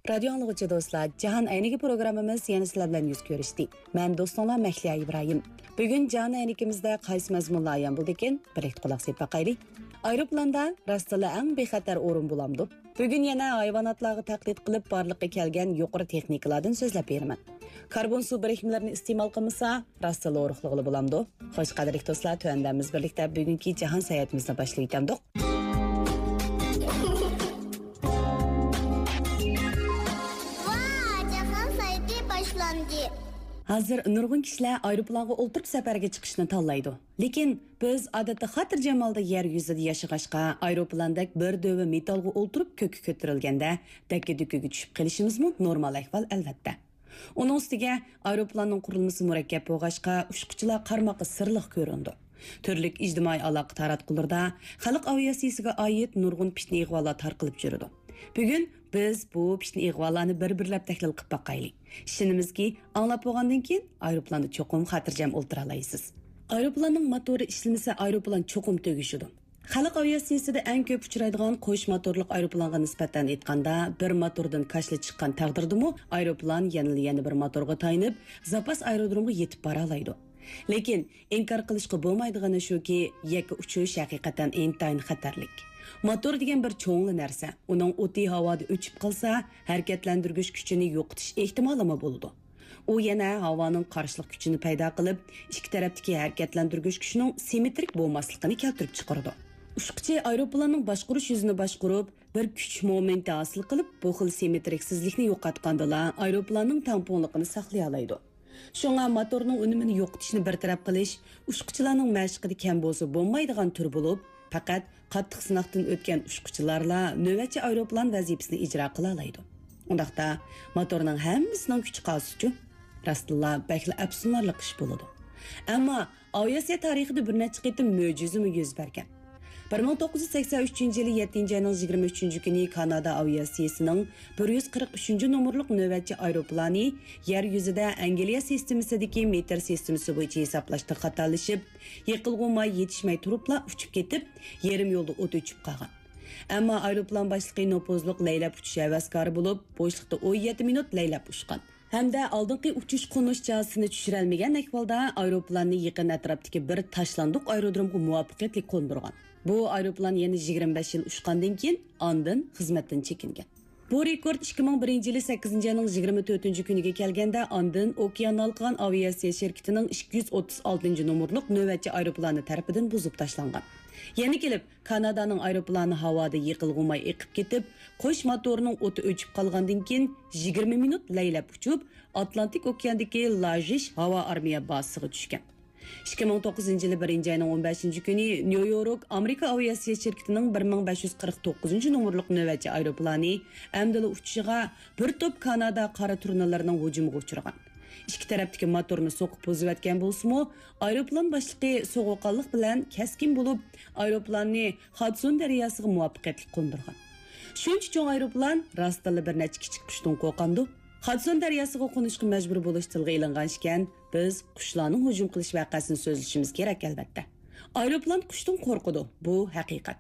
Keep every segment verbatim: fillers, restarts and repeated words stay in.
رادىيو ئاڭلىغۇچى دوستلار، جاھان ئەينىكى پروگراممىمىز يەنە سىلەر بىلەن يۈز كۆرۈشتى. مەن دوستۇڭلار مەھلىيا ئىبراھىم. بۈگۈن جاھان ئەينىكىمىزدە قايسى مەزمۇنلار ئايان بولىدىكىن؟ بىرلىكتە قۇلاق سېلىپ باقايلى. ئايروپىلاندا راستلا ئەڭ بىخەتەر ئورۇن بولامدۇ؟ بۈگۈن يەنە ھايۋاناتلارغا تەقلىد قىلىپ بارلىققا كەلگەن يۇقىرى تېخنىكىلاردىن سۆزلەپ بېرىمەن. كاربون سۇ بىرىكمىلىرىنى ئىستېمال قىلمىسا، راستلا ئورۇقلىغىلى بولامدۇ؟ خوش، قەدىرلىك دوستلار، تۆۋەندە بىز بىرلىكتە بۈگۈنكى جاھان ساياھىتىمىزنى باشلىۋېتەمدۇق. ۋا، جاھان ساياھىتى باشلاندى. ھازىر نۇرغۇن كىشىلەر ئايروپىلانغا ئولتۇرۇپ سەپەرگە چىقىشنى تاللايدۇ. لېكىن بىز ئادەتتە خاتىرجەم ھالدا يەر يۈزىدە ياشىغاچقا، ئايروپىلاندەك بىر دۆۋە مېتالغا ئولتۇرۇپ كۆككە كۆتۈرۈلگەندە دەككە-دۈككىگە چۈشۈپ قېلىشىمىزمۇ نورمال ئەھۋال، ئەلۋەتتە. ئۇنىڭ ئۈستىگە ئايروپىلاننىڭ قۇرۇلمىسى مۇرەككەپ بولغاچقا، ئۇچقۇچىلار قارىماققا سىرلىق كۆرۈنىدۇ. تۈرلۈك ئىجتىمائىي ئالاقە تاراتقۇلىرىدا خەلق ئاۋىئاتسىيىسىگە ئائىت نۇرغۇن پىتنە-ئىغۋالار تارقىلىپ يۈرىدۇ. بۈگۈن بىز بۇ پىتنە-ئىغۋالارنى بىر-بىرلەپ تەھلىل قىلىپ باقايلى. ئىشىنىمىزكى، ئاڭلاپ بولغاندىن كېيىن ئايروپىلاندا چوقۇم خاتىرجەم ئولتۇرالايسىز. ئايروپىلاننىڭ موتورى ئىشلىمىسە، ئايروپىلان چوقۇم تۈگىشىدۇ. خەلق ئاۋىئاتسىيىسىدە ئەڭ كۆپ ئۇچرايدىغان قوش موتورلۇق ئايروپىلانغا نىسبەتەن ئېيتقاندا، بىر موتوردىن كاشىلا چىققان تەقدىردىمۇ، ئايروپىلان يەنىلا يەنە بىر موتورغا تايىنىپ، زاپاس ئايرودرومغا يېتىپ بارالايدۇ. لېكىن ئىنكار قىلىشقا بولمايدىغىنى شۇكى، يەككە ئۇچۇش ھەقىقەتەن ئىنتايىن خەتەرلىك. موتور دېگەن بىر چوڭلا نەرسە. ئۇنىڭ ئوتى ھاۋادا ئۆچۈپ قالسا، ھەرىكەتلەندۈرگۈچ كۈچىنى يوقىتىش ئېھتىمالىمۇ بولىدۇ. ئۇ يەنە ھاۋانىڭ قارشىلىق كۈچىنى پەيدا قىلىپ، ئىككى تەرەپتىكى ھەرىكەتلەندۈرگۈچ كۈچىنىڭ سىممېترىك بولماسلىقىنى كەلتۈرۈپ چىقىرىدۇ. ئۇچقۇچى ئايروپىلاننىڭ باشقۇرۇش يۈزىنى باشقۇرۇپ، بىر كۈچ مومېنتى ھاسىل قىلىپ، بۇ خىل سىممېترىكسىزلىكنى يوقاتقاندىلا، ئايروپىلاننىڭ تەڭپۇڭلۇقىنى ساقلىيالايدۇ. شۇڭا موتورنىڭ ئۈنۈمىنى يوقىتىشنى بىر تەرەپ قىلىش ئۇچقۇچىلارنىڭ مەشقىدە كەم بولسا بولمايدىغان تۈر بولۇپ، پەقەت قاتتىق سىناقتىن ئۆتكەن ئۇچقۇچىلارلا نۆۋەتچى ئايروپىلان ۋەزىپىسىنى ئىجرا قىلالايدۇ. ئۇنداقتا، موتورنىڭ ھەممىسىنىڭ كۈچى قالسىچۇ؟ راستتىنلا بەكلا ئەپسۇسلىنارلىق ئىش بولىدۇ. ئەمما ئاۋىئاتسىيە تارىخىدا بىر نەچچە قېتىم مۆجىزىمۇ يۈز بەرگەن. بىر مىڭ توققۇز يۈز سەكسەن ئۈچىنچى يىلى يەتتىنچى ئاينىڭ يىگىرمە ئۈچىنچى كۈنى كانادا ئاۋىئاتسىيىسىنىڭ بىر يۈز قىرىق ئۈچىنچى نومۇرلۇق نۆۋەتچى ئايروپىلانى يەر يۈزىدە ئەنگلىيە سىستېمىسىدىكى مېتىر سىستېمىسى بويىچە ھېسابلاشتا خاتالىشىپ، يېقىلغۇ ماي يېتىشمەي تۇرۇپلا ئۇچۇپ كېتىپ، يېرىم يولدا ئوت ئۆچۈپ قالغان. ئەمما ئايروپىلان باشلىقى نوپۇزلۇق لەيلەپ ئۇچۇش ھەۋەسكارى بولۇپ، بوشلۇقتا ئون يەتتە مىنۇت لەيلەپ ئۇچقان. ھەمدە ئالدىنقى ئۇچۇش-قونۇش چاسىسىنى چۈشۈرەلمىگەن ئەھۋالدا ئايروپىلاننى يېقىن ئەتراپتىكى بىر تاشلاندۇق ئايرودرومغا مۇۋەپپەقىيەتلىك قوندۇرغان. بۇ ئايروپىلان يەنە يىگىرمە بەش يىل ئۇچقاندىن كېيىن ئاندىن خىزمەتتىن چېكىنگەن. بۇ رېكورت ئىككى مىڭ بىرىنچى يىلى سەككىزىنچى ئاينىڭ يىگىرمە تۆتىنچى كۈنىگە كەلگەندە، ئاندىن ئوكيان ھالقىغان ئاۋىئاتسىيە شىركىتىنىڭ ئىككى يۈز ئوتتۇز ئالتىنچى نومۇرلۇق نۆۋەتچى ئايروپىلانى تەرىپىدىن بۇزۇپ تاشلانغان. يەنە كېلىپ، كانادانىڭ ئايروپىلانى ھاۋادا يېقىلغۇ ماي ئېقىپ كېتىپ، قوش موتورنىڭ ئوتى ئۆچۈپ قالغاندىن كېيىن، يىگىرمە مىنۇت لەيلەپ ئۇچۇپ، ئاتلانتىك ئوكياندىكى لاژىش ھاۋا ئارمىيە بازىسىغا چۈشكەن. ئىككى مىڭ توققۇزىنچى يىلى بىرىنچى ئاينىڭ ئون بەشىنچى كۈنى نيۇ يورك ئامېرىكا ئاۋىئاتسىيە شىركىتىنىڭ بىر مىڭ بەش يۈز قىرىق توققۇزىنچى نومۇرلۇق نۆۋەتچى ئايروپىلانى ئەمدىلا ئۇچۇشىغا بىر توپ كانادا قارا تۇرنىلىرىنىڭ ھۇجۇمىغا ئۇچرىغان. ئىككى تەرەپتىكى موتورنى سوقۇپ بۇزۇۋەتكەن بولسىمۇ، ئايروپىلان باشلىقى سوغۇققانلىق بىلەن كەسكىن بولۇپ، ئايروپىلاننى خادسون دەرياسىغا مۇۋەپپەقىيەتلىك قوندۇرغان. شۇنچە چوڭ ئايروپىلان راستتىنلا بىر نەچچە كىچىك قۇشتىن قورقامدۇ؟ خادسون دەرياسىغا قونۇشقا مەجبۇر بولۇش تىلغا ئېلىنغان ئىكەن، بىز قۇشلارنىڭ ھۇجۇم قىلىش ۋەقەسىنى سۆزلىشىمىز كېرەك، ئەلۋەتتە. ئايروپىلان قۇشتىن قورقىدۇ، بۇ ھەقىقەت.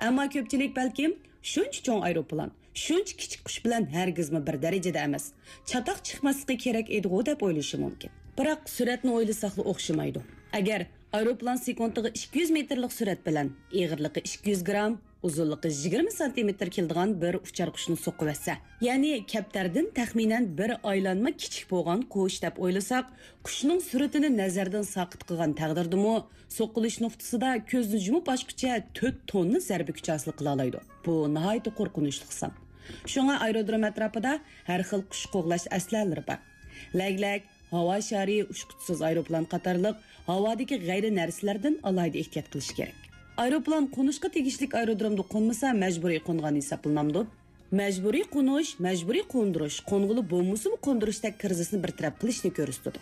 ئەمما كۆپچىلىك بەلكىم شۇنچە چوڭ ئايروپىلان، شۇنچە كىچىك قۇش بىلەن ھەرگىزمۇ بىر دەرىجىدە ئەمەس، چاتاق چىقماسلىقى كېرەك ئىدىغۇ دەپ ئويلىشى مۇمكىن. بىراق سۈرئەتنى ئويلىساقلا ئوخشىمايدۇ. ئەگەر ئايروپىلان سېكۇنتىغا ئىككى يۈز مېتىرلىق سۈرئەت بىلەن ئېغىرلىقى ئىككى يۈز گرام، ئۇزۇنلۇقى يىگىرمە سانتىمېتىر كېلىدىغان بىر ئۇچار قۇشنى سوقۇۋەتسە، يەنى كەپتەردىن تەخمىنەن بىر ئايلانما كىچىك بولغان قۇش دەپ ئويلىساق، قۇشنىڭ سۈرئىتىنى نەزەردىن ساقىت قىلغان تەقدىردىمۇ، سوقۇلۇش نۇقتىسىدا كۆزنى يۇمۇپ ئاچقۇچە تۆت توننا زەربە كۈچى ھاسىل قىلالايدۇ. بۇ ناھايىتى قورقۇنچلۇق سان. شۇڭا ئايرودروم ئەتراپىدا ھەر خىل قۇش قوغلاش ئەسلىھەلىرى بار. لەگلەك، ھاۋا شارى، ئۇچقۇچىسىز ئايروپىلان قاتارلىق ھاۋادىكى غەيرىي نەرسىلەردىن ئالاھىدە ئېھتىيات قىلىش كېرەك. ئايروپىلان قونۇشقا تېگىشلىك ئايرودرومدا قونمىسا، مەجبۇرىي قونغان ھېسابلىنامدۇ؟ مەجبۇرىي قونۇش، مەجبۇرىي قوندۇرۇش، قونغىلى بولمىسىمۇ قوندۇرۇشتەك كىرىزىسنى بىر تەرەپ قىلىشنى كۆرسىتىدۇ.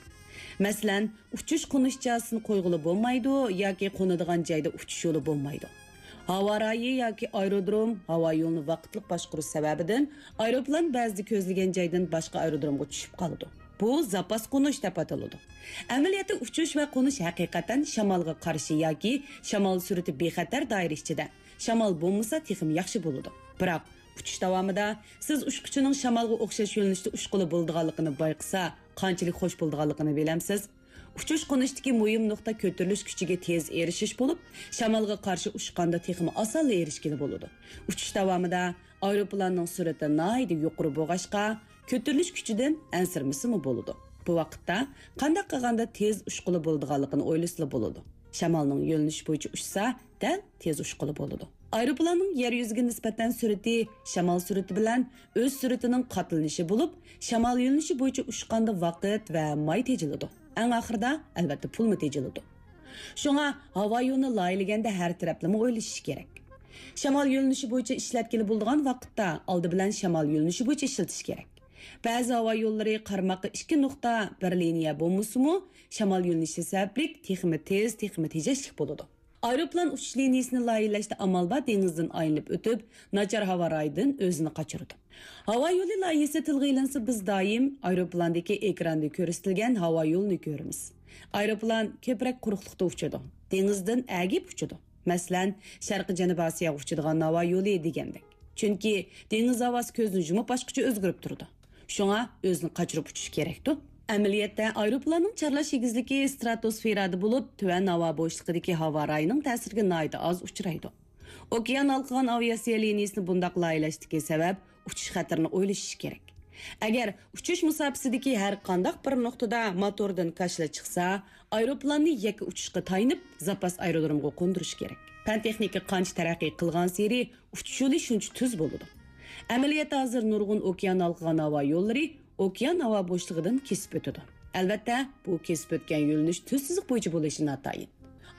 مەسىلەن، ئۇچۇش-قونۇش چاسىسىنى قويغىلى بولمايدۇ ياكى قونىدىغان جايدا ئۇچۇش يولى بولمايدۇ. ھاۋا رايى ياكى ئايرودروم، ھاۋا يولىنى ۋاقىتلىق باشقۇرۇش سەۋەبىدىن ئايروپىلان بەزىدە كۆزلىگەن جايدىن باشقا ئايرودرومغا چۈشۈپ قالىدۇ. بۇ زاپاس قونۇش دەپ ئاتىلىدۇ. ئەمەلىيەتتە ئۇچۇش ۋە قونۇش ھەقىقەتەن شامالغا قارشى ياكى شامال سۈرئىتى بىخەتەر دائىرە ئىچىدە. شامال بولمىسا تېخىمۇ ياخشى بولىدۇ. بىراق ئۇچۇش داۋامىدا سىز ئۇچقۇچىنىڭ شامالغا ئوخشاش يۆنىلىشتە ئۇچقىلى بولىدىغانلىقىنى بايقىسا، قانچىلىك خوش بولىدىغانلىقىنى بىلەمسىز؟ ئۇچۇش-قونۇشتىكى مۇھىم نۇقتا كۆتۈرۈلۈش كۈچىگە تېز ئېرىشىش بولۇپ، شامالغا قارشى ئۇچقاندا تېخىمۇ ئاسانلا ئېرىشكىلى بولىدۇ. ئۇچۇش داۋامىدا ئايروپىلاننىڭ سۈرئىتى ناھايىتى يۇقىرى بولغاچقا، كۆتۈرۈلۈش كۈچىدىن ئەنسىرىمىسىمۇ بولىدۇ. بۇ ۋاقىتتا قانداق قىلغاندا تېز ئۇچقىلى بولىدىغانلىقىنى ئويلىسىلا بولىدۇ. شامالنىڭ يۆنىلىشى بويىچە ئۇچسا، دەل تېز ئۇچقىلى بولىدۇ. ئايروپىلاننىڭ يەر يۈزىگە نىسبەتەن سۈرئىتى شامال سۈرئىتى بىلەن ئۆز سۈرئىتىنىڭ قاتلىنىشى بولۇپ، شامال يۆنىلىشى بويىچە ئۇچقاندا ۋاقىت ۋە ماي تېجىلىدۇ. ئەڭ ئاخىرىدا، ئەلۋەتتە، پۇلمۇ تېجىلىدۇ. شۇڭا ھاۋا يولىنى لايىھەلىگەندە ھەر تەرەپلىمە ئويلىشىش كېرەك. شامال يۆنىلىشى بويىچە ئىشلەتكىلى بولىدىغان ۋاقىتتا ئالدى بىلەن شامال يۆنىلىشى بويىچە ئىشلىتىش كېرەك. بەزى ھاۋا يوللىرى قارىماققا ئىككى نۇقتا بىر لىنىيە بولمىسىمۇ، شامال يۆنىلىشى سەۋەبلىك تېخىمۇ تېز، تېخىمۇ تېجەشلىك بولىدۇ. ئايروپىلان ئۇچۇش لىنىيىسىنى لايىھەلەشتە ئامال بار دېڭىزدىن ئايلىنىپ ئۆتۈپ، ناچار ھاۋا رايىدىن ئۆزىنى قاچۇرىدۇ. ھاۋا يولى لايىھىسى تىلغا ئېلىنسا، بىز دائىم ئايروپىلاندىكى ئېكراندا كۆرسىتىلگەن ھاۋا يولىنى كۆرىمىز. ئايروپىلان كۆپرەك قۇرۇقلۇقتا ئۇچىدۇ، دېڭىزدىن ئەگىپ ئۇچىدۇ. مەسىلەن، شەرقىي جەنۇبىي ئاسىياغا ئۇچىدىغان ھاۋا يولى دېگەندەك. چۈنكى دېڭىز ھاۋاسى كۆزنى يۇمۇپ ئاچقۇچە ئۆزگىرىپ تۇرىدۇ. شۇڭا ئۆزىنى قاچۇرۇپ ئۇچۇش كېرەكتۇ. ئەمەلىيەتتە، ئايروپىلاننىڭ چارلاش ئېگىزلىكى ستراتوسفېرادا بولۇپ، تۆۋەن ھاۋا بوشلۇقىدىكى ھاۋا رايىنىڭ تەسىرىگە ناھايىتى ئاز ئۇچرايدۇ. ئوكيان ھالقىغان ئاۋىئاتسىيە لىنىيىسىنى بۇنداق لايىھەلەشتىكى سەۋەب، ئۇچۇش خەتىرىنى ئويلىشىش كېرەك. ئەگەر ئۇچۇش مۇساپىسىدىكى ھەر قانداق بىر نۇقتىدا موتوردىن كاشىلا چىقسا، ئايروپىلاننى يەككە ئۇچۇشقا تايىنىپ، زاپاس ئايرودرومغا قوندۇرۇش كېرەك. پەن-تېخنىكا قانچە تەرەققىي قىلغانسېرى، ئۇچۇش يولى شۇنچە تۈز بولىدۇ. ئەمەلىيەتتە ھازىر نۇرغۇن ئوكيان ھالقىغان ھاۋا يوللىرى ئوكيان ھاۋا بوشلۇقىدىن كېسىپ ئۆتىدۇ. ئەلۋەتتە، بۇ كېسىپ ئۆتكەن يۆنىلىش تۈز سىزىق بويىچە بولۇشى ناتايىن.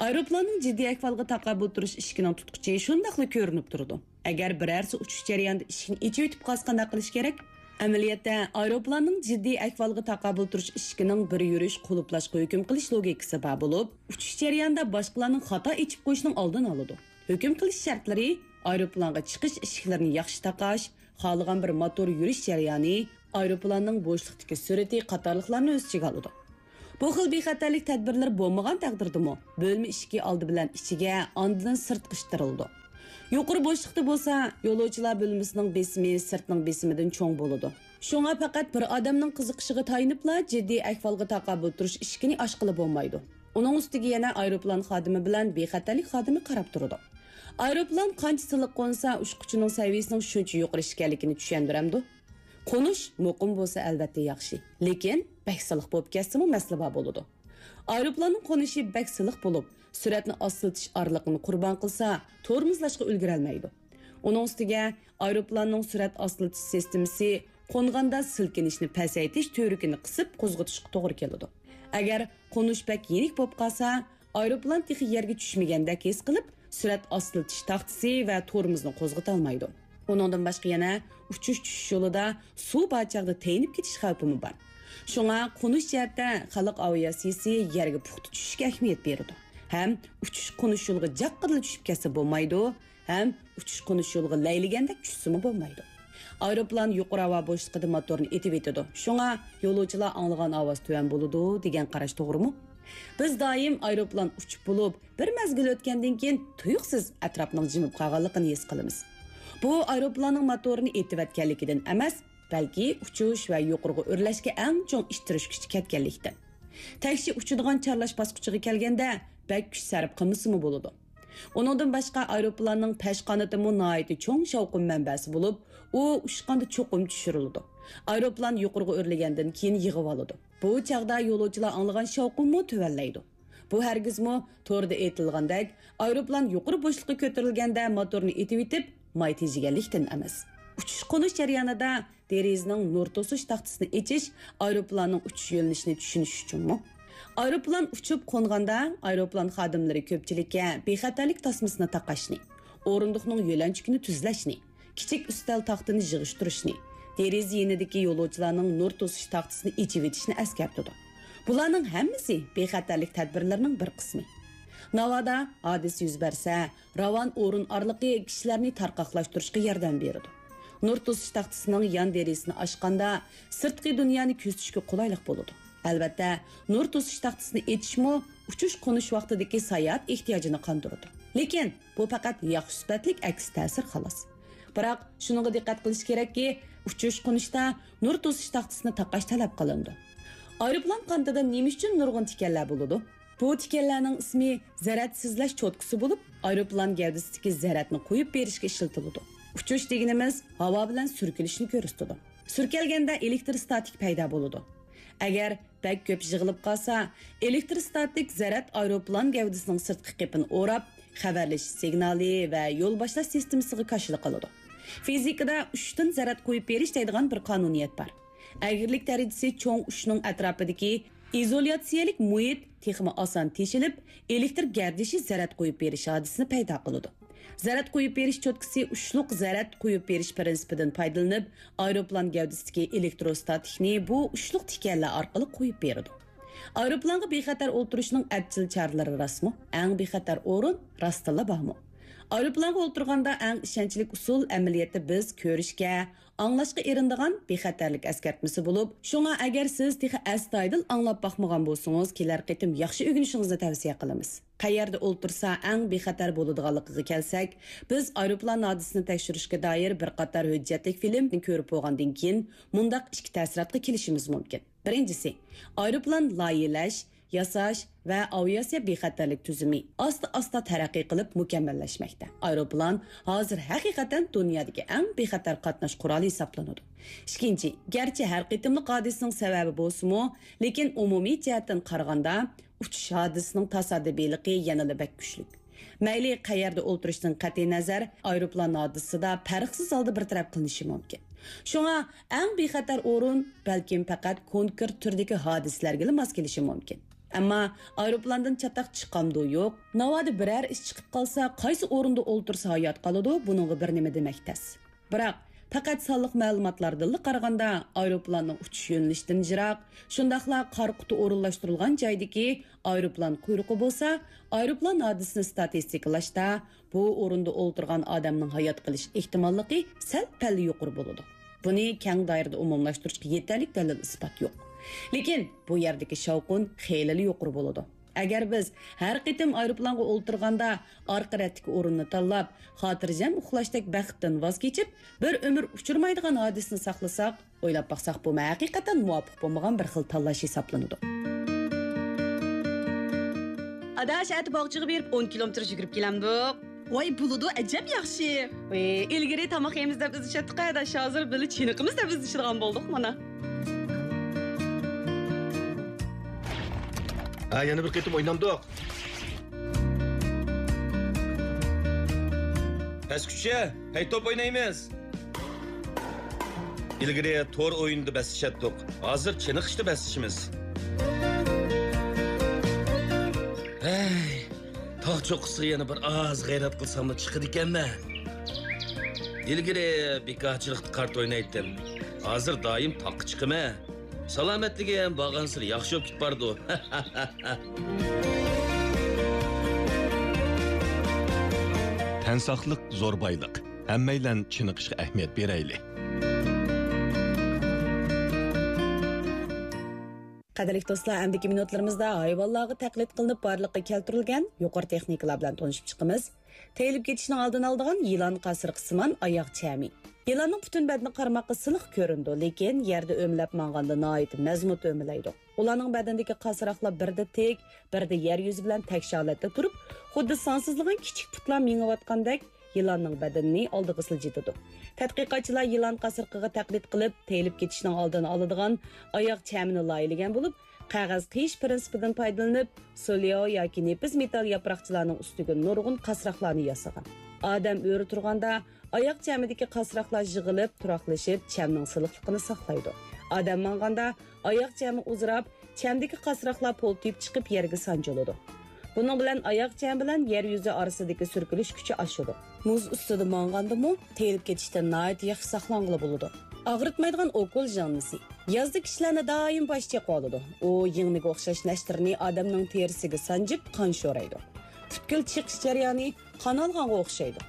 ئايروپىلاننىڭ جىددىي ئەھۋالغا تاقابىل تۇرۇش ئىشىكىنىڭ تۇتقۇچى شۇنداقلا كۆرۈنۈپ تۇرىدۇ. ئەگەر بىرەرسى ئۇچۇش جەريانىدا ئىشىكنى ئېچىۋېتىپ قالسا، قانداق قىلىش كېرەك؟ ئەمەلىيەتتە، ئايروپىلاننىڭ جىددىي ئەھۋالغا تاقابىل تۇرۇش ئىشىكىنىڭ بىر يۈرۈش قۇلۇپلاشقا ھۆكۈم قىلىش لوگىكىسى بار بولۇپ، ئۇچۇش جەريانىدا باشقىلارنىڭ خاتا ئېچىپ قويۇشىنىڭ ئالدىنى ئالىدۇ. ھۆكۈم قىلىش شەرتلىرى ئايروپىلانغا چىقىش ئىشىكلىرىنى ياخشى تاقاش، خالىغان بىر موتور يۈرۈش جەريانى، ئايروپىلاننىڭ بوشلۇقتىكى سۈرئىتى قاتارلىقلارنى ئۆز ئىچىگە ئالىدۇ. بۇ خىل بىخەتەرلىك تەدبىرلىرى بولمىغان تەقدىردىمۇ، بۆلمە ئىشىكى ئالدى بىلەن ئىچىگە، ئاندىن سىرتقا ئىتتىرىلىدۇ. يۇقىرى بوشلۇقتا بولسا، يولۇچىلار بۆلمىسىنىڭ بېسىمى سىرتنىڭ بېسىمىدىن چوڭ بولىدۇ. شۇڭا پەقەت بىر ئادەمنىڭ قىزىقىشىغا تايىنىپلا جىددىي ئەھۋالغا تاقابىل تۇرۇش ئىشىكىنى ئاچقىلى بولمايدۇ. ئۇنىڭ ئۈستىگە يەنە ئايروپىلان خادىمى بىلەن بىخەتەرلىك خادىمى قاراپ تۇرىدۇ. ئايروپىلان قانچە سىلىق قونسا، ئۇچقۇچىنىڭ سەۋىيىسىنىڭ شۇنچە يۇقىرى ئىكەنلىكىنى چۈشەندۈرەمدۇ؟ قونۇش مۇقىم بولسا، ئەلۋەتتە ياخشى، لېكىن بەك سىلىق بولۇپ كەتسىمۇ مەسىلە بار بولىدۇ. ئايروپىلاننىڭ قونۇشى بەك سىلىق بولۇپ، سۈرئەتنى ئاستىلىتىش ئارىلىقىنى قۇربان قىلسا، تورمۇزلاشقا ئۈلگۈرەلمەيدۇ. ئۇنىڭ ئۈستىگە ئايروپىلاننىڭ سۈرئەت ئاستىلىتىش سىستېمىسى قونغاندا سىلكىنىشنى پەسەيتىش تۈۋرۈكىنى قىسىپ قوزغىتىشقا توغرا كېلىدۇ. ئەگەر قونۇش بەك يېنىك بولۇپ قالسا، ئايروپىلان تېخى يەرگە چۈشمىگەندەك ھېس قىلىپ، سۈرئەت ئاستىلىتىش تاختىسى ۋە تورمۇزنى قوزغىتالمايدۇ. ئۇنىڭدىن باشقا يەنە ئۇچۇش چۈشۈش يولىدا سۇ بار چاغدا تېيىنىپ كېتىش خەۋپىمۇ بار. شۇڭا قونۇش جەھەتتە خەلق ئاۋىئاتسىيىسى يەرگە پۇختا چۈشۈشكە ئەھمىيەت بېرىدۇ. ھەم ئۇچۇش قونۇش يولىغا جاققىدىلا چۈشۈپ كەتسە بولمايدۇ، ھەم ئۇچۇش قونۇش يولىغا لەيلىگەندەك چۈشسىمۇ بولمايدۇ. ئايروپىلان يۇقىرى ھاۋا بوشلۇقىدا موتورنى ئېتىۋېتىدۇ. شۇڭا يولۇچىلار ئاڭلىغان ئاۋاز تۆۋەن بولىدۇ دېگەن قاراش توغرىمۇ؟ بىز دائىم ئايروپىلان ئۇچۇپ بولۇپ، بىر مەزگىل ئۆتكەندىن كېيىن تۇيۇقسىز ئەتراپنىڭ جىمىپ قالغانلىقىنى ھېس قىلىمىز. بۇ ئايروپىلاننىڭ موتورىنى ئېتىۋەتكەنلىكىدىن ئەمەس، بەلكى ئۇچۇش ۋە يۇقىرىغا ئۆرلەشكە ئەڭ چوڭ ئىتتىرىش كۈچى كەتكەنلىكتىن. تەكشى ئۇچىدىغان چارلاش باسقۇچىغا كەلگەندە، بەك كۈچ سەرپ قىلمىسىمۇ بولىدۇ. ئۇنىڭدىن باشقا، ئايروپىلاننىڭ پەش قانىتىمۇ ناھايىتى چوڭ شاۋقۇن مەنبەسى بولۇپ، ئۇ ئۇچقاندا چوقۇم چۈشۈرۈلىدۇ. ئايروپىلان يۇقىرىغا ئۆرلىگەندىن كېيىن يىغىۋالىدۇ. بۇ چاغدا يولۇچىلار ئاڭلىغان شاۋقۇنمۇ تۆۋەنلەيدۇ. بۇ ھەرگىزمۇ توردا ئېيتىلغاندەك، ئايروپىلان يۇقىرى بوشلۇققا كۆتۈرۈلگەندە موتورنى ئېتىۋېتىپ، ماي تېجىگەنلىكتىن ئەمەس. ئۇچۇش-قونۇش جەريانىدا دېرىزىنىڭ نۇر توسۇش تاختىسىنى ئېچىش ئايروپىلاننىڭ ئۇچۇش يۆنىلىشىنى چۈشىنىش ئۈچۈنمۇ؟ ئايروپىلان ئۇچۇپ قونغاندا، ئايروپىلان خادىملىرى كۆپچىلىككە بىخەتەرلىك تاسمىسىنى تاقاشنى، ئورۇندۇقنىڭ يۆلەنچۈكىنى تۈزلەشنى، كىچىك ئۈستەل تاختىنى يىغىشتۇرۇشنى، دېرىزە يېنىدىكى يولۇچىلارنىڭ نۇر توسۇش تاختىسىنى ئېچىۋېتىشنى ئەسكەرتىدۇ. بۇلارنىڭ ھەممىسى بىخەتەرلىك تەدبىرلىرىنىڭ بىر قىسمى. ناۋادا ھادىسە يۈز بەرسە، راۋان ئورۇن ئارىلىقى كىشىلەرنى تارقاقلاشتۇرۇشقا ياردەم بېرىدۇ. نۇر توسۇش تاختىسىنىڭ يان دېرىزىسىنى ئاچقاندا، سىرتقى دۇنيانى كۆزىتىشكە قولايلىق بولىدۇ. ئەلۋەتتە، نۇر توسۇش تاختىسىنى ئېچىشمۇ ئۇچۇش-قونۇش ۋاقتىدىكى ساياھەت ئېھتىياجىنى قاندۇرىدۇ. لېكىن بۇ پەقەت ياخشى سۈپەتلىك ئەكس تەسىر، خالاس. بىراق، شۇنىڭغا دىققەت قىلىش كېرەككى، ئۇچۇش-قونۇشتا نۇر توسۇش تاختىسىنى تاقاش تەلەپ قىلىنىدۇ. ئايروپىلان قانىتىدا نېمە ئۈچۈن نۇرغۇن تىكەنلەر بولىدۇ؟ بۇ تىكەنلەرنىڭ ئىسمى زەرەت سىزلەش چوتكىسى بولۇپ، ئايروپىلان گەۋدىسىدىكى زەرەتنى قويۇپ بېرىشكە ئىشلىتىلىدۇ. ئۇچۇش دېگىنىمىز ھاۋا بىلەن سۈركىلىشنى كۆرسىتىدۇ. سۈركەلگەندە ئېلېكتروستاتىك پەيدا بولىدۇ. ئەگەر بەك كۆپ يىغىلىپ قالسا، ئېلېكتروستاتىك زەرەت ئايروپىلان گەۋدىسىنىڭ سىرتقى قېپىنى ئوراپ، خەۋەرلىشىش سىگنالى ۋە يول باشلاش سىستېمىسىغا كاشىلا قىلىدۇ. فىزىكىدا ئۇچۇشتىن زەرەت قويۇپ بېرىش دەيدىغان بىر قانۇنىيەت بار. ئەگرىلىك دەرىجىسى چوڭ ئۇچۇشنىڭ ئەتراپىدىكى ئىزولياتسىيەلىك مۇھىت تېخىمۇ ئاسان تېشىلىپ، ئېلېكتر گەردىشى زەرەت قويۇپ بېرىش ھادىسىسىنى پەيدا قىلىدۇ. زەرەت قويۇپ بېرىش چوتكىسى ئۇچلۇق زەرەت قويۇپ بېرىش پىرىنسىپىدىن پايدىلىنىپ، ئايروپىلان گەۋدىسىدىكى ئېلېكتروستاتىكنى بۇ ئۇچلۇق تىكەنلەر ئارقىلىق قويۇپ بېرىدۇ. ئايروپىلانغا بىخەتەر ئولتۇرۇشنىڭ ئەپچىل چارىلىرى راستمۇ؟ ئەڭ بىخەتەر ئورۇن راستتىنلا بارمۇ؟ ئايروپىلانغا ئولتۇرغاندا ئەڭ ئىشەنچلىك ئۇسۇل ئەمەلىيەتتە بىز كۆرۈشكە، ئاڭلاشقا ئېرىنىدىغان بىخەتەرلىك ئەسكەرتمىسى بولۇپ، شۇڭا ئەگەر سىز تېخى ئەستايىدىل ئاڭلاپ باقمىغان بولسىڭىز، كېلەر قېتىم ياخشى ئۆگىنىشىڭىزنى تەۋسىيە قىلىمىز. قەيەردە ئولتۇرسا ئەڭ بىخەتەر بولىدىغانلىقىغا كەلسەك، بىز ئايروپىلان ھادىسىسىنى تەكشۈرۈشكە دائىر بىر قاتار ھۆججەتلىك فىلىمنى كۆرۈپ بولغاندىن كېيىن، مۇنداق ئىككى تەسىراتقا كېلىشىمىز مۇمكىن. بىرىنچىسى، ئايروپىلان لايىھەلەش، ياساش ۋە ئاۋىئاتسىيە بىخەتەرلىك تۈزۈمى ئاستا-ئاستا تەرەققىي قىلىپ مۇكەممەللەشمەكتە. ئايروپىلان ھازىر ھەقىقەتەن دۇنيادىكى ئەڭ بىخەتەر قاتناش قورالى ھېسابلىنىدۇ. ئىككىنچى، گەرچە ھەر قېتىملىق ھادىسىنىڭ سەۋەبى بولسىمۇ، لېكىن ئومۇمىي جەھەتتىن قارىغاندا، ئۇچۇش ھادىسىسىنىڭ تاسادىپىيلىقى يەنىلا بەك كۈچلۈك. مەيلى قەيەردە ئولتۇرۇشتىن قەتئىينەزەر، ئايروپىلان ھادىسىسىدا پەرقسىز ھالدا بىر تەرەپ قىلىنىشى مۇمكىن. شۇڭا ئەڭ بىخەتەر ئورۇن بەلكىم پەقەت كونكرېت تۈردىكى ھادىسىلەرگىلا ماس كېلىشى مۇمكىن. ئەمما ئايروپىلاندىن چاتاق چىقامدۇ يوق، ناۋادا بىرەر ئىش چىقىپ قالسا، قايسى ئورۇندا ئولتۇرسا ھايات قالىدۇ، بۇنىڭغا بىر نېمە دېمەك تەس. بىراق، پەقەت سانلىق مەلۇماتلاردىنلا قارىغاندا، ئايروپىلاننىڭ ئۇچۇش يۆنىلىشىدىن يىراق، شۇنداقلا قارا قۇتى ئورۇنلاشتۇرۇلغان جايدىكى ئايروپىلان قۇيرۇقى بولسا، ئايروپىلان ھادىسىسىنى ستاتىستىكىلاشتا، بۇ ئورۇندا ئولتۇرغان ئادەمنىڭ ھايات قېلىش ئېھتىماللىقى سەل-پەل يۇقىرى بولىدۇ. بۇنى كەڭ دائىرىدە ئومۇملاشتۇرۇشقا يېتەرلىك دەلىل-ئىسپات يوق. لېكىن بۇ يەردىكى شاۋقۇن خېلىلا يۇقىرى بولىدۇ. ئەگەر بىز ھەر قېتىم ئايروپىلانغا ئولتۇرغاندا ئارقا رەتتىكى ئورۇننى تاللاپ، خاتىرجەم ئۇخلاشتەك بەختتىن ۋاز كېچىپ، بىر ئۆمۈر ئۇچرىمايدىغان ھادىسىنى ساقلىساق، ئويلاپ باقساق، بۇمۇ ھەقىقەتەن مۇۋاپىق بولمىغان بىر خىل تاللاش ھېسابلىنىدۇ. ئاداش، ئەتە باغچىغا بېرىپ ئون كىلومېتىر يۈگۈرۈپ كېلەمدۇق. ۋاي، بولىدۇ، ئەجەب ياخشى. ئى، ئىلگىرى تاماق يەيمىز دەپ ئىزدىشەتتۇق، ئاداش، ھازىر بىللە چېنىقىمىز دەپ ئىزدىشىدىغان بولدۇق مانا. ھە، يەنە بىر قېتىم ئوينامدۇق. پەسكۈچە، ھەي، توپ ئوينايمىز. ئىلگىرى تور ئويۇندا بەسلىشەتتۇق، ھازىر چېنىقىشتا بەسلىشىمىز. ھەي، تاغ چوققىسىغا يەنە بىر ئاز غەيرەت قىلساممۇ چىقىدىكەنمەن. ئىلگىرى بىكارچىلىقتا كارتا ئوينايتتىم، ھازىر دائىم تاغقا چىقىمەن. سالامەتلىكىم بارغانسېرى ياخشى بولۇپ كېتىپ بارىدۇ. تەن ساقلىق زور بايلىق. ھەممەيلەن چېنىقىشقا ئەھمىيەت بېرەيلى. قەدىرلىك دوستلار، ئەمدىكى مىنۇتلىرىمىزدا ھايۋانلارغا تەقلىد قىلىنىپ بارلىققا كەلتۈرۈلگەن يۇقىرى تېخنىكىلار بىلەن تونۇشۇپ چىقىمىز. تېيىلىپ كېتىشنىڭ ئالدىنى ئالىدىغان يىلان قاسرىقىسىمان ئاياغ چەمى. يىلاننىڭ پۈتۈن بەدىنى قارىماققا سىلىق كۆرۈنىدۇ، لېكىن يەردە ئۆمىلەپ ماڭغاندا ناھايىتى مەزمۇت ئۆمىلەيدۇ. ئۇلارنىڭ بەدىنىدىكى قاسراقلار بىردە تىك، بىردە يەر يۈزى بىلەن تەكشى ھالەتتە تۇرۇپ، خۇددى سانسىزلىغان كىچىك پۇتلار مېڭىۋاتقاندەك يىلاننىڭ بەدىنىنى ئالدىغا سىلجىتىدۇ. تەتقىقاتچىلار يىلان قاسرىقىغا تەقلىد قىلىپ، تېيىلىپ كېتىشنىڭ ئالدىنى ئالىدىغان ئاياغ چەمىنى لايىھەلىگەن بولۇپ، قەغەز قىيىش پىرىنسىپىدىن پايدىلىنىپ، سولياۋ ياكى نېپىز مېتال ياپراقچىلارنىڭ ئۈستىگە نۇرغۇن قاسراقلارنى ياسىغان. ئادەم ئۆرە تۇرغاندا، ئاياغ چەمىدىكى قاسراقلار يىغىلىپ، تۇراقلىشىپ، چەمنىڭ سىلىقلىقىنى ساقلايدۇ. ئادەم ماڭغاندا، ئاياغ چەمى ئۇزىراپ، چەمدىكى قاسراقلار پولتىيىپ چىقىپ يەرگە سانجىلىدۇ. بۇنىڭ بىلەن ئاياغ چەمى بىلەن يەر يۈزى ئارىسىدىكى سۈركىلىش كۈچى ئاشىدۇ. مۇز ئۈستىدە ماڭغاندىمۇ تېيىلىپ كېتىشتىن ناھايىتى ياخشى ساقلانغىلى بولىدۇ. ئاغرىتمايدىغان ئوكۇل يىڭنىسى. يازدا كىشىلەرنى دائىم باش چېقىۋالىدۇ. ئۇ يىڭنىگە ئوخشاش نەشتىرىنى ئادەمنىڭ تېرىسىگە سانجىپ، قان شورايدۇ. پۈتكۈل چېقىش جەريانى قان ئالغانغا ئوخشايدۇ.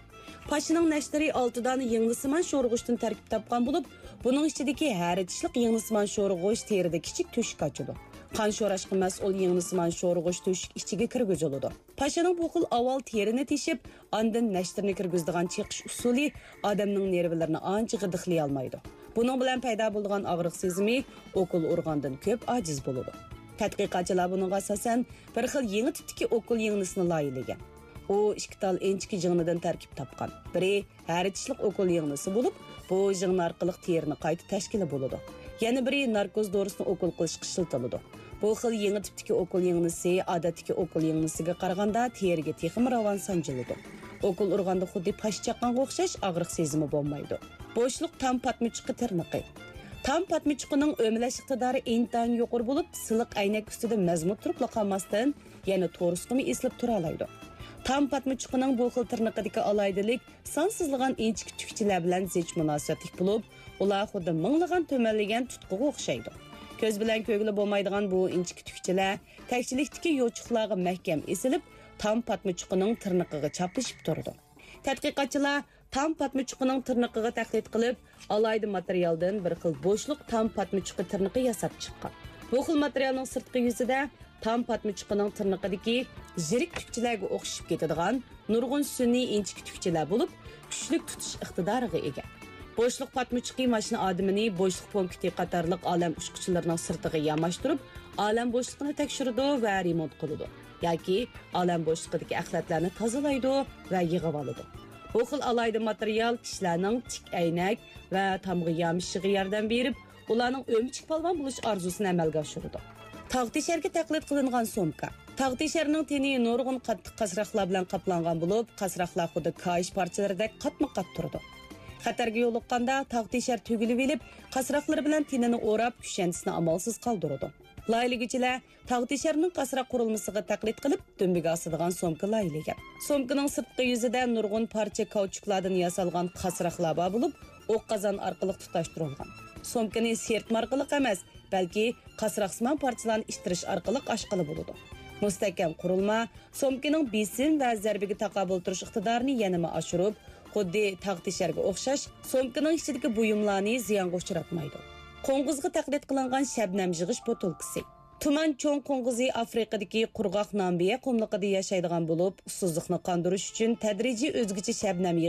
پاشىنىڭ نەشتىرى ئالتە دانە يىڭنىسىمان شورىغۇچتىن تەركىب تاپقان بولۇپ، بۇنىڭ ئىچىدىكى ھەر چىشلىق يىڭنىسىمان شورىغۇچ تېرىدە كىچىك تۆشۈك ئاچىدۇ. قان شوراشقا مەسئۇل يىڭنىسىمان شورىغۇچ تۆشۈك ئىچىگە كىرگۈزۈلىدۇ. پاشىنىڭ بۇ خىل ئاۋۋال تېرىنى تېشىپ، ئاندىن نەشتىرنى كىرگۈزىدىغان چېقىش ئۇسۇلى ئادەمنىڭ نېرۋىلىرىنى ئانچە غىدىقلىيالمايدۇ. بۇنىڭ بىلەن پەيدا بولىدىغان ئاغرىق سېزىمى ئوكۇل ئۇرغاندىن كۆپ ئاجىز بولىدۇ. تەتقىقاتچىلار بۇنىڭغا ئاساسەن، بىر خىل يېڭى تىپتىكى ئوكۇل يىڭنىسىنى لايىھىلىگەن. ئۇ ئىككى تال ئىنچىكە يىڭنىدىن تەركىب تاپقان. بىرى ھەر چىشلىق ئوكۇل يىڭنىسى بولۇپ، بۇ يىڭنە ئارقىلىق تېرىنى قايتا تەشكىلى بولىدۇ. يەنە بىرى ناركوز دورىسىنى ئوكۇل قىلىشقا ئىشلىتىلىدۇ. بۇ خىل يېڭى تىپتىكى ئوكۇل يىڭنىسى ئادەتتىكى ئوكۇل يىڭنىسىگە قارىغاندا تېرىگە تېخىمۇ راۋان سانجىلىدۇ. ئوكۇل ئۇرغاندا خۇددى پاش چاققانغا ئوخشاش ئاغرىق سېزىمى بولمايدۇ. بوشلۇق تام پاتمىچۇقى تىرنىقى. تام پاتمىچۇقىنىڭ ئۆمىلەش ئىقتىدارى ئىنتايىن يۇقىرى بولۇپ، سىلىق ئەينەك ئۈستىدە مەزمۇت تۇرۇپلا قالماستىن، يەنە تورۇسقىمۇ ئېسىلىپ تۇرالايدۇ. تام پاتمىچۇقىنىڭ بۇ خىل تىرنىقىدىكى ئالاھىدىلىك سانسىزلىغان ئىنچىكە تۈكچىلەر بىلەن زىچ مۇناسىۋەتلىك بولۇپ، ئۇلار خۇددى مىڭلىغان تۈمەنلىگەن تۇتقىغا ئوخشايدۇ. كۆز بىلەن كۆرگىلى بولمايدىغان بۇ ئىنچىكە تۈكچىلەر تەكچىلىكتىكى يوچۇقلارغا مەھكەم ئېسىلىپ، تام پاتمىچۇقىنىڭ تىرنىقىغا چاپلىشىپ تۇرىدۇ. تەتقىقاتچىلار تام پاتمىچۇقىنىڭ تىرنىقىغا تەقلىد قىلىپ، ئالاھىدە ماتېرىيالدىن بىر خىل بوشلۇق تام پاتمىچۇقى تىرنىقى ياساپ چىققان. بۇ خىل ماتېرىيالنىڭ سىرتقى يۈزىدە تام پاتمىچۇقىنىڭ تىرنىقىدىكى يىرىك تۈكچىلەرگە ئوخشىشىپ كېتىدىغان نۇرغۇن سۈنئىي ئىنچىكە تۈكچىلەر بولۇپ، كۈچلۈك تۇتۇش ئىقتىدارىغا ئىگە. بوشلۇق پاتمىچۇقى ماشىنا ئادىمىنى بوشلۇق پونكىتى قاتارلىق ئالەم ئۇچقۇچىلىرىنىڭ سىرتىغا ياماشتۇرۇپ، ئالەم بوشلۇقىنى تەكشۈرىدۇ ۋە رېمونت قىلىدۇ ياكى ئالەم بوشلۇقىدىكى ئەخلەتلەرنى تازىلايدۇ ۋە يىغىۋالىدۇ. بۇ خىل ئالاھىدە ماتېرىيال كىشىلەرنىڭ تىك ئەينەك ۋە تامغا يامىشىشىغا ياردەم بېرىپ، ئۇلارنىڭ ئۆمۈچۈك پالۋان بولۇش ئارزۇسىنى ئەمەلگە ئاشۇرىدۇ. تاغ تېشەرگە تەقلىد قىلىنغان سومكا. تاغ تېشەرنىڭ تېنى نۇرغۇن قاتتىق قاسراقلار بىلەن قاپلانغان بولۇپ، قاسراقلار خۇددى كاھىش پارچىلىرىدەك قاتمۇ قات تۇرىدۇ. خەتەرگە يولۇققاندا، تاغ تېشەر تۈگۈلۈۋېلىپ، قاسراقلىرى بىلەن تېنىنى ئوراپ، كۈشەندىسىنى ئامالسىز قالدۇرىدۇ. لايىھىلىگۈچىلەر تاغ تېشەرنىڭ قاسراق قۇرۇلمىسىغا تەقلىد قىلىپ، دۈمبىگە ئاسىدىغان سومكا لايىھىلىگەن. سومكىنىڭ سىرتقى يۈزىدە نۇرغۇن پارچە كاۋچۇكلاردىن ياسالغان قاسراقلار بار بولۇپ، ئوق قازان ئارقىلىق تۇتاشتۇرۇلغان. سومكىنى سىرتما ئارقىلىق ئەمەس، بەلكى قاسراقسىمان پارچىلارنى ئىتتىرىش ئارقىلىق ئاچقىلى بولىدۇ. مۇستەھكەم قۇرۇلما سومكىنىڭ بېسىم ۋە زەربىگە تاقابىل تۇرۇش ئىقتىدارىنى يەنىمۇ ئاشۇرۇپ، خۇددى تاغ تېشەرگە ئوخشاش، سومكىنىڭ ئىچىدىكى بۇيۇملارنى زىيانغا ئۇچراتمايدۇ. قوڭغۇزغا تەقلىد قىلىنغان شەبنەم يىغىش بوتۇلكىسى. تۇمان چوڭ قوڭغۇزى ئافرىقىدىكى قۇرغاق نامىبىيە قۇملۇقىدا ياشايدىغان بولۇپ، ئۇسسۇزلۇقنى قاندۇرۇش ئۈچۈن تەدرىجىي ئۆزگىچە شەبنەم يىغىش